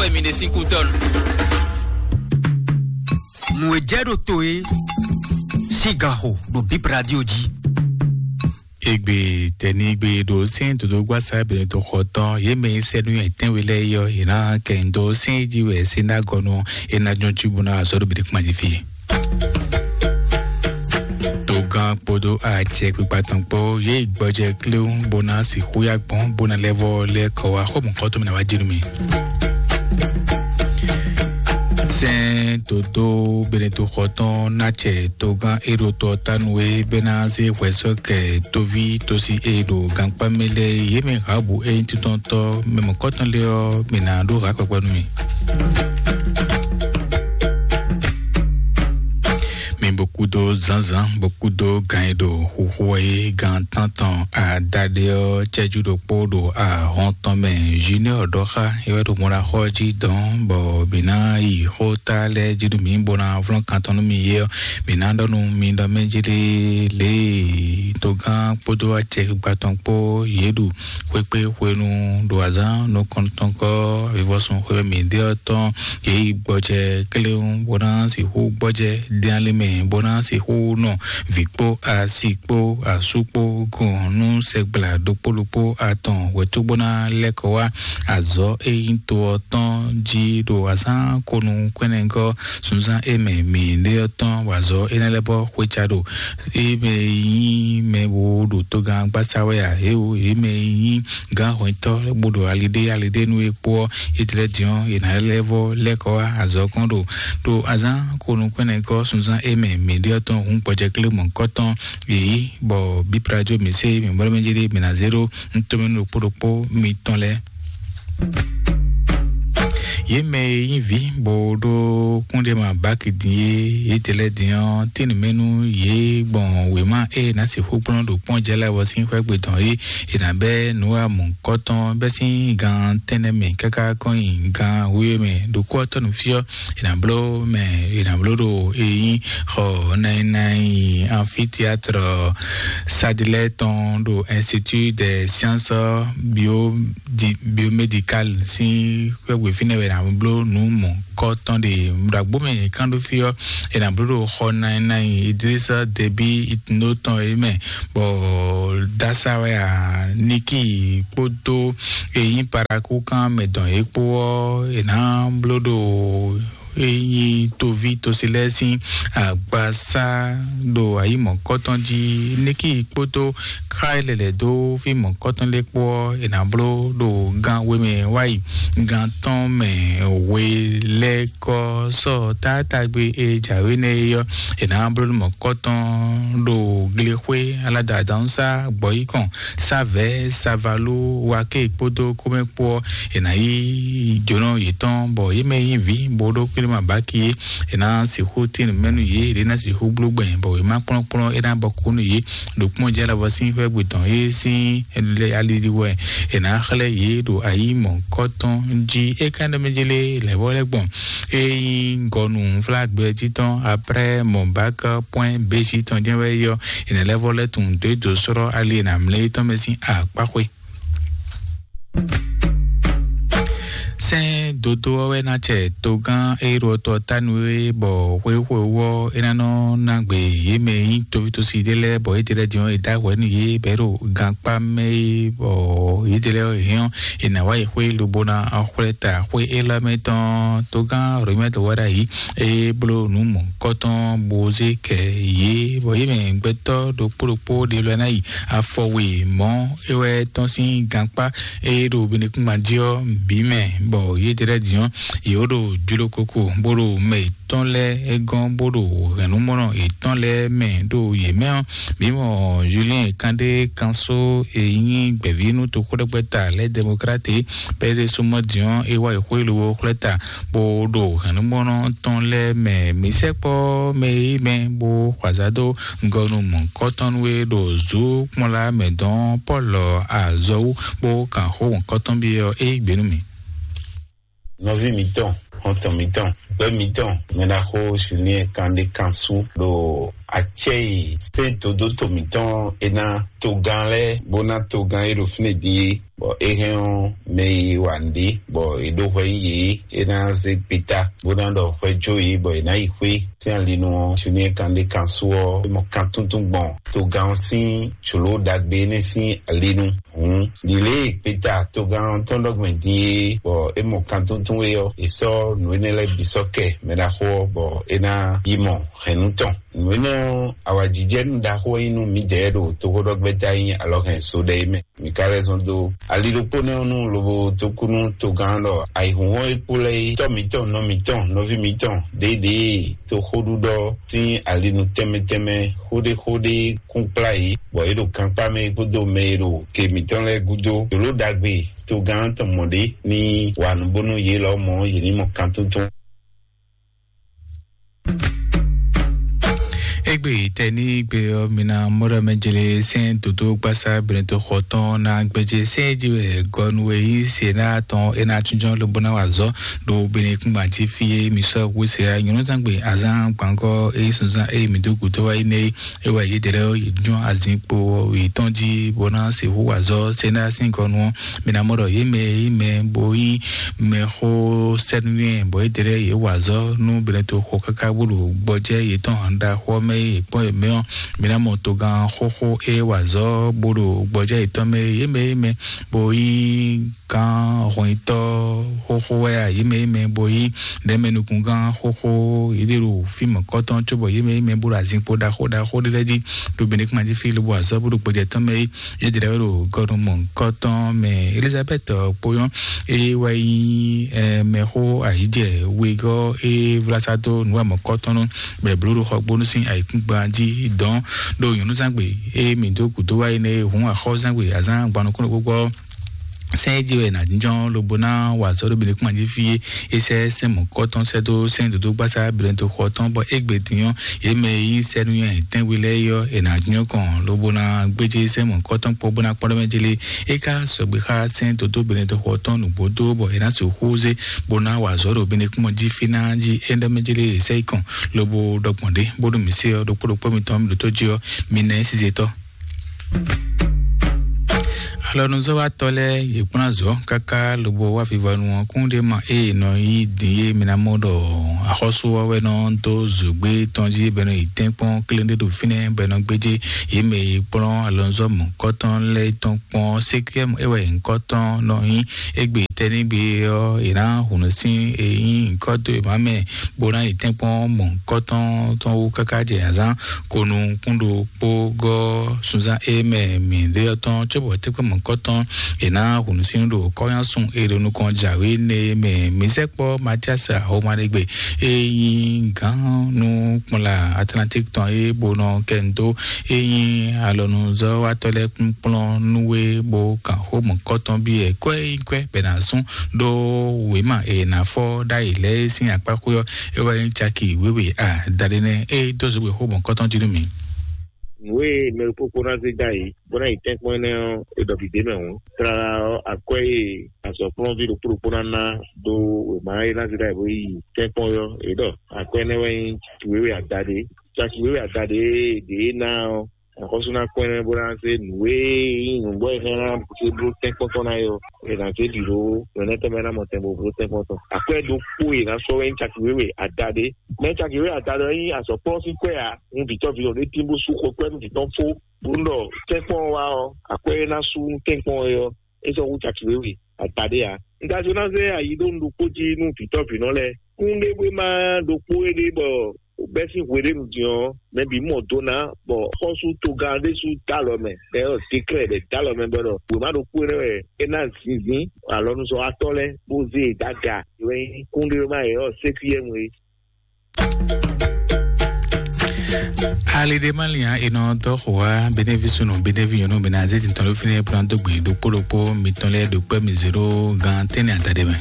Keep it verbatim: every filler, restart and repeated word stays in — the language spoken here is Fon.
Wɛ mi ɖe sín kútɔ́nu. Nǔ e jɛ ɖo to e sín gan xo ɖo Bib Radio jí. Egbe tɛnigbe ɖo sɛn dodó gbasa bɛnɛ to xɔ tɔn ye mɛ sɛnu yɛ tɛnwe lɛ yɔ ye na kɛ ndo sɛn ji wɛ sɛn na gɔnu e na jɔn ci buna azɔ ɖo bɛnɛ kuma ji fi. Togán kpódó acɛ kpikpa tɔn kpó yě yi gbɔjɛ kléwún bó ná sixú yá gbɔn bó ná lɛ́ vɔ lɛ́ kɔ wá xɔmɔkɔtɔn mɛ ná wá jínú mi. Sɛn dodó beneto xɔ tɔn ná cɛ togán éɖo tɔ tánu e bɛ ná zé hwɛ sɔ́ kɛ tóví tosi e ɖo gankpá mɛ lɛ́ɛ yě mɛ hǎbu e nyí títɔ́ntɔ́ mɛ mɔ̌kɔtɔn lɛ́ɛ ɔ́, mǐ ná ɖó hǎ kpɛkpɛ nú mi. Mi bó kúdó zǎnzǎn bó kúdó gan e ɖo xuxu wɛ é gan tántɔn adaɖé ɔ́ cɛ́jú ɖokpó ɖo ahɔn tɔn mɛ. Junior ɖɔ xá é wɛ ɖo mɔɖaxɔ jí dɔn bɔ mǐ ná yi xó ta lɛ́ɛ jí nú mǐ bó ná vlɔ́n kan tɔn nú mi é ɔ́, mǐ ná ɖɔ nú mi ɖɔ mɛ jí lé lě e togán kpódó acɛ gbígbá tɔn kpó yě ɖu xwékpé hwenu ɖo azǎn nukɔntɔn kɔ́ avivɔsun xwé mǐ ɖe ɔ́ tɔn. Yě yi gbɔjɛ kléwún bó ná sixú gbɔjɛ dɛn ali mɛ bó ná sixú nɔ vǐ kpó asi kpó asú kpó gɔn nú sɛgbla ɖokpó ɖokpó atɔn wɛ̌ cóbó ná lɛ́ kɔ wá azɔ̌ e nyí to ɔ́ tɔn jí ɖo azǎn konu kwɛ́nɛgɔ́ sunzán e mɛ mǐ ɖe ɔ́ tɔn wazɔ̌ énɛ́ lɛ́ɛ bɔ xwéca ɖo é mɛ nyí mɛ wo ɖo togán gbásá wɛ ǎ, é o é mɛ nyí gǎnhwɛntɔ́ bó ɖo ali ɖé ali ɖé nú é kpó ɔ́, é tlɛ́ din ɔ́, è nǎ lɛ́ vɔ lɛ́ kɔ wá azɔ̌ kɔn ɖo ɖo azǎn konu kwɛ́nɛgɔ́ sunzán e mɛ mǐ ɖe ɔ́ tɔn hǔn gbɔjɛklémɔ̌kɔ́tɔn yě yí bɔ bíplajo mǐ sé mǐ bɔ́ mɛ jí ɖé mǐ ná zé ɖó nú tomɛnu ɖokpó ɖokpó mitɔn lɛ́ɛ. Yě mɛ e nyí vǐ bó ɖó kúnɖéma báki din é, yě tɛ lɛ́ɛ din ɔ́, tínú mɛ nú yě gbɔn wěma e ná sixú kplɔ́n ɖo kpɔ́n jɛ lɛ́ɛ wɔ sín xwé gbe tɔn é, è nǎ bɛ́ nǔ wa mɔ̌kɔtɔn bɛ́ sín gan tɛ́nnɛ mɛ káká kɔn nyi gan wíwé mɛ. Ɖokpó ɔ́ tɔ́ nǔ fí ɔ́, è nǎ bló mɛ è nǎ bló ɖo e nyí xɔ nayi nayi amphithéâtre Sadilɛ tɔn ɖo Institut des Sciences Bio di biomédical sín xwé gbe fínɛ́ wɛ è nǎ bló nǔ mɔ̌kɔtɔn ɖe. Ɖo agbó mɛ è kán ɖó fí ɔ́, è nǎ bló ɖo xɔ nayi nayi Idrissa Déby Itno tɔn é mɛ bɔ dasa wɛ a Niki kpódó e nyí parakúkan mɛ dɔn é kpó ɔ́, è nǎ bló ɖo e nyí toví tosi lɛ́ɛ sín agbasá ɖo ayǐ mɔ̌kɔtɔn jí. Niki kpódó xá e lɛlɛ dó fí mɔ̌kɔtɔn lɛ́ɛ kpó ɔ́, è nǎ bló ɖo gan we mɛ wá yi gan tɔn mɛ we lɛ́ɛ kɔ sɔ tátágbe e jǎwe nɛ́ é ɔ́, è nǎ bló ɖo mɔ̌kɔtɔn ɖo glexwé aládàádánsá gbɔ̌yíkɔn Savɛ Savalu Wake kpódó kómɛ kpó ɔ́, è nǎ yí jǒnɔ yětɔn bɔ yě mɛ nyí vǐ bó ɖó kpíɖéma báki é, è nǎ sixú tín mɛnu yě, è nǎ sixú bló gbɛn bɔ wěma kplɔ́nkplɔ́n é ná bɔ kú nú yě ɖo kpɔ́n jɛ alavɔ sín xwé gbe tɔn é sín ali wɛ è nǎ xlɛ́ yě ɖo ayǐ mɔ̌kɔtɔn jí. É ka ɖɔ mɛ jí lé lɛ̌vɔ́ lɛ́ gbɔn é nyí ŋgɔnu flágbɛ jí tɔn après mɔ̌bákɛ pwɛ́n béjí tɔn jɛ́n wɛ yɔ è nǎ lɛ́ vɔ lɛ́ tunwun dó é dǒ sɔ́ ali è nǎ mlɛ́ é tɔn mɛ sín akpáxwé. Sɛ́n dodó ɔ́ wɛ ná cɛ togán e ɖo tɔ tánu é bɔ xwéxwéwú ɔ́ é ná nɔ ná gbe yě mɛ e nyí tovítosi ɖé lɛ́ɛ bɔ yědɛ́ lɛ́ɛ din ɔ́ è dó ahwɛ nú yě bɔ é ɖo gankpá mɛ é bɔ yědɛ́ lɛ́ɛ ɔ́ è hɛn ɔ́ è nǎ wá yi xwé lobo ná xwlɛ́ ta xwé élɔ́ mɛ tɔn togán Rɔmɛ́ wɛ ɖ'ayǐ é bló nǔ mɔ̌kɔtɔn bó zé kɛ yě bɔ yě mɛ gbɛtɔ́ ɖokpó ɖokpó ɖé lɛ́ɛ ná yi afɔwe mɔ̌ é wɛ tɔn sín gankpá e ɖo binukúngban jí ɔ́ bǐ mɛ bɔ yědɛ́ lɛ́ɛ din ɔ́ yě ɖo jló koko bó ɖo mɛ yětɔn lɛ́ɛ gɔ́n bó ɖo hɛ̌nnumɔnɔ yětɔn lɛ́ɛ mɛ ɖo yě mɛ ɔ́. Mǐ mɔ Julien Kandé Kanso e nyí gbɛ̌ví nú toxóɖɛgbɛ́ta lɛ́ɛ Demokrate bɛ́ ɖésú mɔ din ɔ́ é wá yi xwé lobo xlɛ́ ta bó ɖo hɛ̌nnumɔnɔ tɔn lɛ́ɛ mɛ. Mǐ sɛkpɔ́ mɛ e mɛ bó xwazá dó gɔnu mɔ̌kɔtɔn nú é ɖo zǔ kpɔ́nla mɛ dɔn Pɔ́lu azɔ̌ wú bó kan xó mɔ̌kɔtɔn byɔ́ é yí gbe nú mì. Nɔví mǐtɔn, xɔntɔn mǐtɔn, gbɛ́ mǐtɔn, mɛɖaxó Julien Kandé Kansu ɖo acɛ́ e sɛ́n dodó to mǐtɔn e ná togán lɛ́ɛ bó ná togán e ɖo fínɛ́ din é Bɔ é hɛn ɔ́, mɛ e wa nǔɖé bɔ è ɖó hwɛ yí yě, é ná zé gbeta bó ná ɖɔ hwɛ jó yě bɔ è nǎ yi xwé sín alinu ɔ́. Sunyɛ kan ɖé kan sú ɔ́, é mɔ kan túntún gbɔn togán ɔ́ sín jlǒ ɖagbe énɛ́ sín alinu. Hǔn ɖi lě e gbeta togán ɔ́ tɔn ɖɔ gbɛn din é, bɔ é mɔ kan túntún é ɔ́, è sɔ́ nǔ énɛ́ lɛ́ɛ bǐ sɔ́ kɛ mɛ ɖaxó ɔ́, bɔ é ná yi mɔ hɛ̌nnu tɔn. Nǔ énɛ́ ɔ́, awǎjijɛnú ɖaxó e nyí nú mǐdɛɛ ɖo toxóɖɔgbɛ́ta nyí alɔhɛn so ɖɛ é mɛ. Mǐ ka lɛ́ zɔn dó ali ɖokpó nɛ́ ɔ́ nú lobo dó kú nú togán ɖɔ ayǐhúnhɔ́n e kpo lɛ́ɛ é, tɔ́ mǐtɔn, nɔ mǐtɔn, nɔví mǐtɔn ɖěɖě toxóɖuɖɔ sín alinu tɛnmɛ tɛnmɛ, xóɖéxóɖé kún kplá yě, bɔ é ɖo gankpá mɛ kpódó mɛ e ɖo ke mǐtɔn lɛ́ɛ gúdo. Jlǒ ɖagbe togán tɔn mɔ ɖě ní wa nǔ bónú yě lɔmɔ̌ yě ní mɔ kantuntun. Egbe tɛ ní gbe ɔ́, mi ná mɔɖɔ mɛ jele sɛn dodo gbasa brento xɔtɔn na gbɛjɛ sɛn ji wɛ gɔnu e yi se na tɔn e na tunjɔ lobo na wa zɔ ɖo bene kungba ti fi e mi sɔ wu se a nyɔnu zangbe azan gbangɔ e sunzan e mi do gudo wa yi ne e wa yi dɛlɛ yi jɔn azin kpo yi tɔn ji bo na se wu wa zɔ se na sin gɔnu ɔ. Mi ná mɔɖɔ ye mɛ yi mɛ bo yi mɛ xo sɛnuyɛ bɔ yi dɛlɛ ye wa zɔ nu bene to xɔ kaka bolo gbɔjɛ yetɔn ɖaxɔ mɛ yi kpɔn yě mɛ ɔ́, mi ná mɔ togán xóxó é wa zɔ bolo gbɔjɛ yetɔn mɛ yě mɛ yě mɛ bo yi gán hɔnyitɔ xóxó wɛ a yě mɛ yě mɛ bo yi ɖɛmɛ nukungán xóxó yě ɖe ɖo fímɔ kɔtɔn cóbɔ yě mɛ yě mɛ bolo azinkpo ɖaxó ɖaxó ɖe lɛ́ɛ jí ɖo bene kuma jí fí lobo azɔ bolo gbɔjɛ tɔn mɛ yi yě ɖe ɖo gɔnu mɔ kɔtɔn mɛ. Elizabeth kpoyɔn eye wɛ yi mɛxó ayijɛ wegɔ eye vlasa dó nuwamɔ kɔtɔn nɔ bɛ blo ɖo xɔgbónú sín ayǐkúngban jí dɔn ɖo nyɔnúzangbe eye mi dó gǔdó wá yi nɛ hun axɔ́zangbe azán gbanukúnú gbogbo. Sɛn e jí wɛ nà jínjɔ́n lobo ná wa azɔ̌ ɖo bǐ kún jí fí é sɛ́ sɛn mɔ̌kɔtɔn sɛ́ dó sɛn dǒdó gbásá bǐlɛ́dó xɔ tɔn bɔ égbé din ɔ́ yě mɛ e yí sɛ́núnywɛ tɛ́nwe lɛ́ɛ é ɔ́ è nǎ jínjɔ́n kɔn lobo ná gbéjé sɛn mɔ̌kɔtɔn kpó bó ná kpɔ́n ɖɔ mɛ jélé é ká sɔgbe xá sɛn dǒdó bǐlɛ́dó xɔ tɔn nǔgbó dó bɔ è nǎ sixú zé bó ná wa azɔ̌ ɖo bǐ kún jí fí ná jí é ɖɔ mɛ jélé è sɛ́ yi kɔn lobo ɖɔ gbɔn ɖě bónú mǐ se ɔ́ ɖokpó ɖokpó mitɔn mǐ ɖótó jí ɔ́ mi ná é sizetɔ́. Alɔnuzɔ́watɔ́ lɛ́ɛ yě kplɔ́n azɔ̌ káká lobo wá vivɔnu ɔ́ kún ɖé ma ée nɔ yí din é mi ná mɔ ɖɔ axɔ́sú ɔ́ wɛ nɔ dó zǒgbé tɔn jí bɔ é nɔ yi tɛ́nkpɔ́n kléɖé ɖo fínɛ́ bɔ é nɔ gbéjé yě mɛ e kplɔ́n alɔnuzɔ́ mɔ̌kɔtɔn lɛ́ɛ tɔn kpɔ́n sékúyɛ́mù é wɛ nyǐkɔ tɔn nɔ nyí. Égbé tɛ́nígbe ɔ́ è nǎ hǔnú sín e nyí nyǐkɔ dó è má mɛ bó ná yi tɛ́nkpɔ́n mɔ̌kɔtɔn tɔn wú káká jɛ azán konu kún ɖo kpó gɔ́ sunzán e mɛ mǐ ɖe ɔ́ tɔn cóbɔ tɛ́kpɛ́ mɔ̌kɔtɔn è nǎ hǔnú sín ɖo kɔ́nyásun e ɖo nukɔn jǎwe nɛ mɛ mǐ sɛkpɔ́ Matias Ahomanegbe e nyí gǎn nú kplɔ́nla Atlantique tɔn e bó nɔ kɛ nu dó e nyí alɔnuzɔ́watɔ́ lɛ́ɛ kún kplɔ́n nú we bó kan xó mɔ̌kɔtɔn byɔ́ ɛ kwɛ́ yi kwɛ́ bɛ ná zún ɖó wěma e è nǎ fɔ ɖ'ayǐ lɛ́ɛ sín akpáxwé ɔ́ é wɛ nyí caki wěwe adaɖé nɛ́ e dó zǒgbé xó mɔ̌kɔtɔn jí nú mǐ. Nǔ e mɛ ɖokpókpó ná zé dó ayǐ bó ná yi tɛ́nkpɔ́n énɛ́ ɔ́, è ɖɔ vǐ ɖé mɛ hǔn. Tlala ɔ́, akwɛ́ e azɔ̌kplɔ́nví ɖokpó ɖokpó ná ná dó wěma e ná zé dó ayǐ bó yi tɛ́nkpɔ́n ɔ́, è ɖɔ akwɛ́ énɛ́ wɛ nyí caki wěwe adaɖé. Caki wěwe adaɖé e ɖě ná ɔ́, axɔ́sú ná kpɔ́n ɛ bó ná zé nǔ e nyí nǔgbó e hɛn ná zé bló tɛ́nkpɔ́ntɔ́ ná é ɔ́, è nǎ zé ɖi ɖó nǔ énɛ́ tɛnmɛ ná mɔ tɛn bó bló tɛ́nkpɔ́ntɔ́. Akwɛ́ ɖokpó e è nǎ sɔ́ wɛ nyí caki wěwe adaɖé. Mɛ caki wěwe adaɖé ɔ́ nyí azɔ̌kplɔ́n sín kwɛ́ ǎ. Un vǐtɔ́ vǐ ɖé tín bó sú xɔ kwɛ́ nú vǐ tɔn fó, bó nú ɖɔ tɛ́nkpɔ́n ɔ́ wá ɔ́, akwɛ́ e ná sú nú tɛ́nkpɔ́n ɔ́ é ɔ́, é sɔ́ hú caki wěwe adaɖé ǎ. Un ka jló ná zé ayi ɖó un ɖokpó jí nú vǐtɔ́ vǐnɔ lɛ́ɛ. Kún ɖé bó é má ɖokpó éɖée bɔ bɛ́ sín hweɖénu din ɔ́, mɛ bǐ mɔ do ná, bɔ xɔ́sú togán ɖésú dó alɔ mɛ, bɔ é ɖɔ dékrɛ́ bɔ é dó alɔ mɛ bɔ é ɖɔ wěma ɖokpó énɛ́ wɛ é ná zinzín alɔnuzɔ́watɔ́ lɛ́ɛ bó zé e dó aga. É wɛ nyí kúnɖéwéma e ɔ́ sékúyɛ́nu é. Alidemalian e nɔ dɔ xo wa benevi sunu benevi nyɔnu bena azeti tɔn ɖo fínɛ plan dó gbe ɖokpó ɖokpó mitɔn lɛ́ɛ ɖo kpɛ́ mi zéro gan tɛ́nɛ adaɖe mɛ.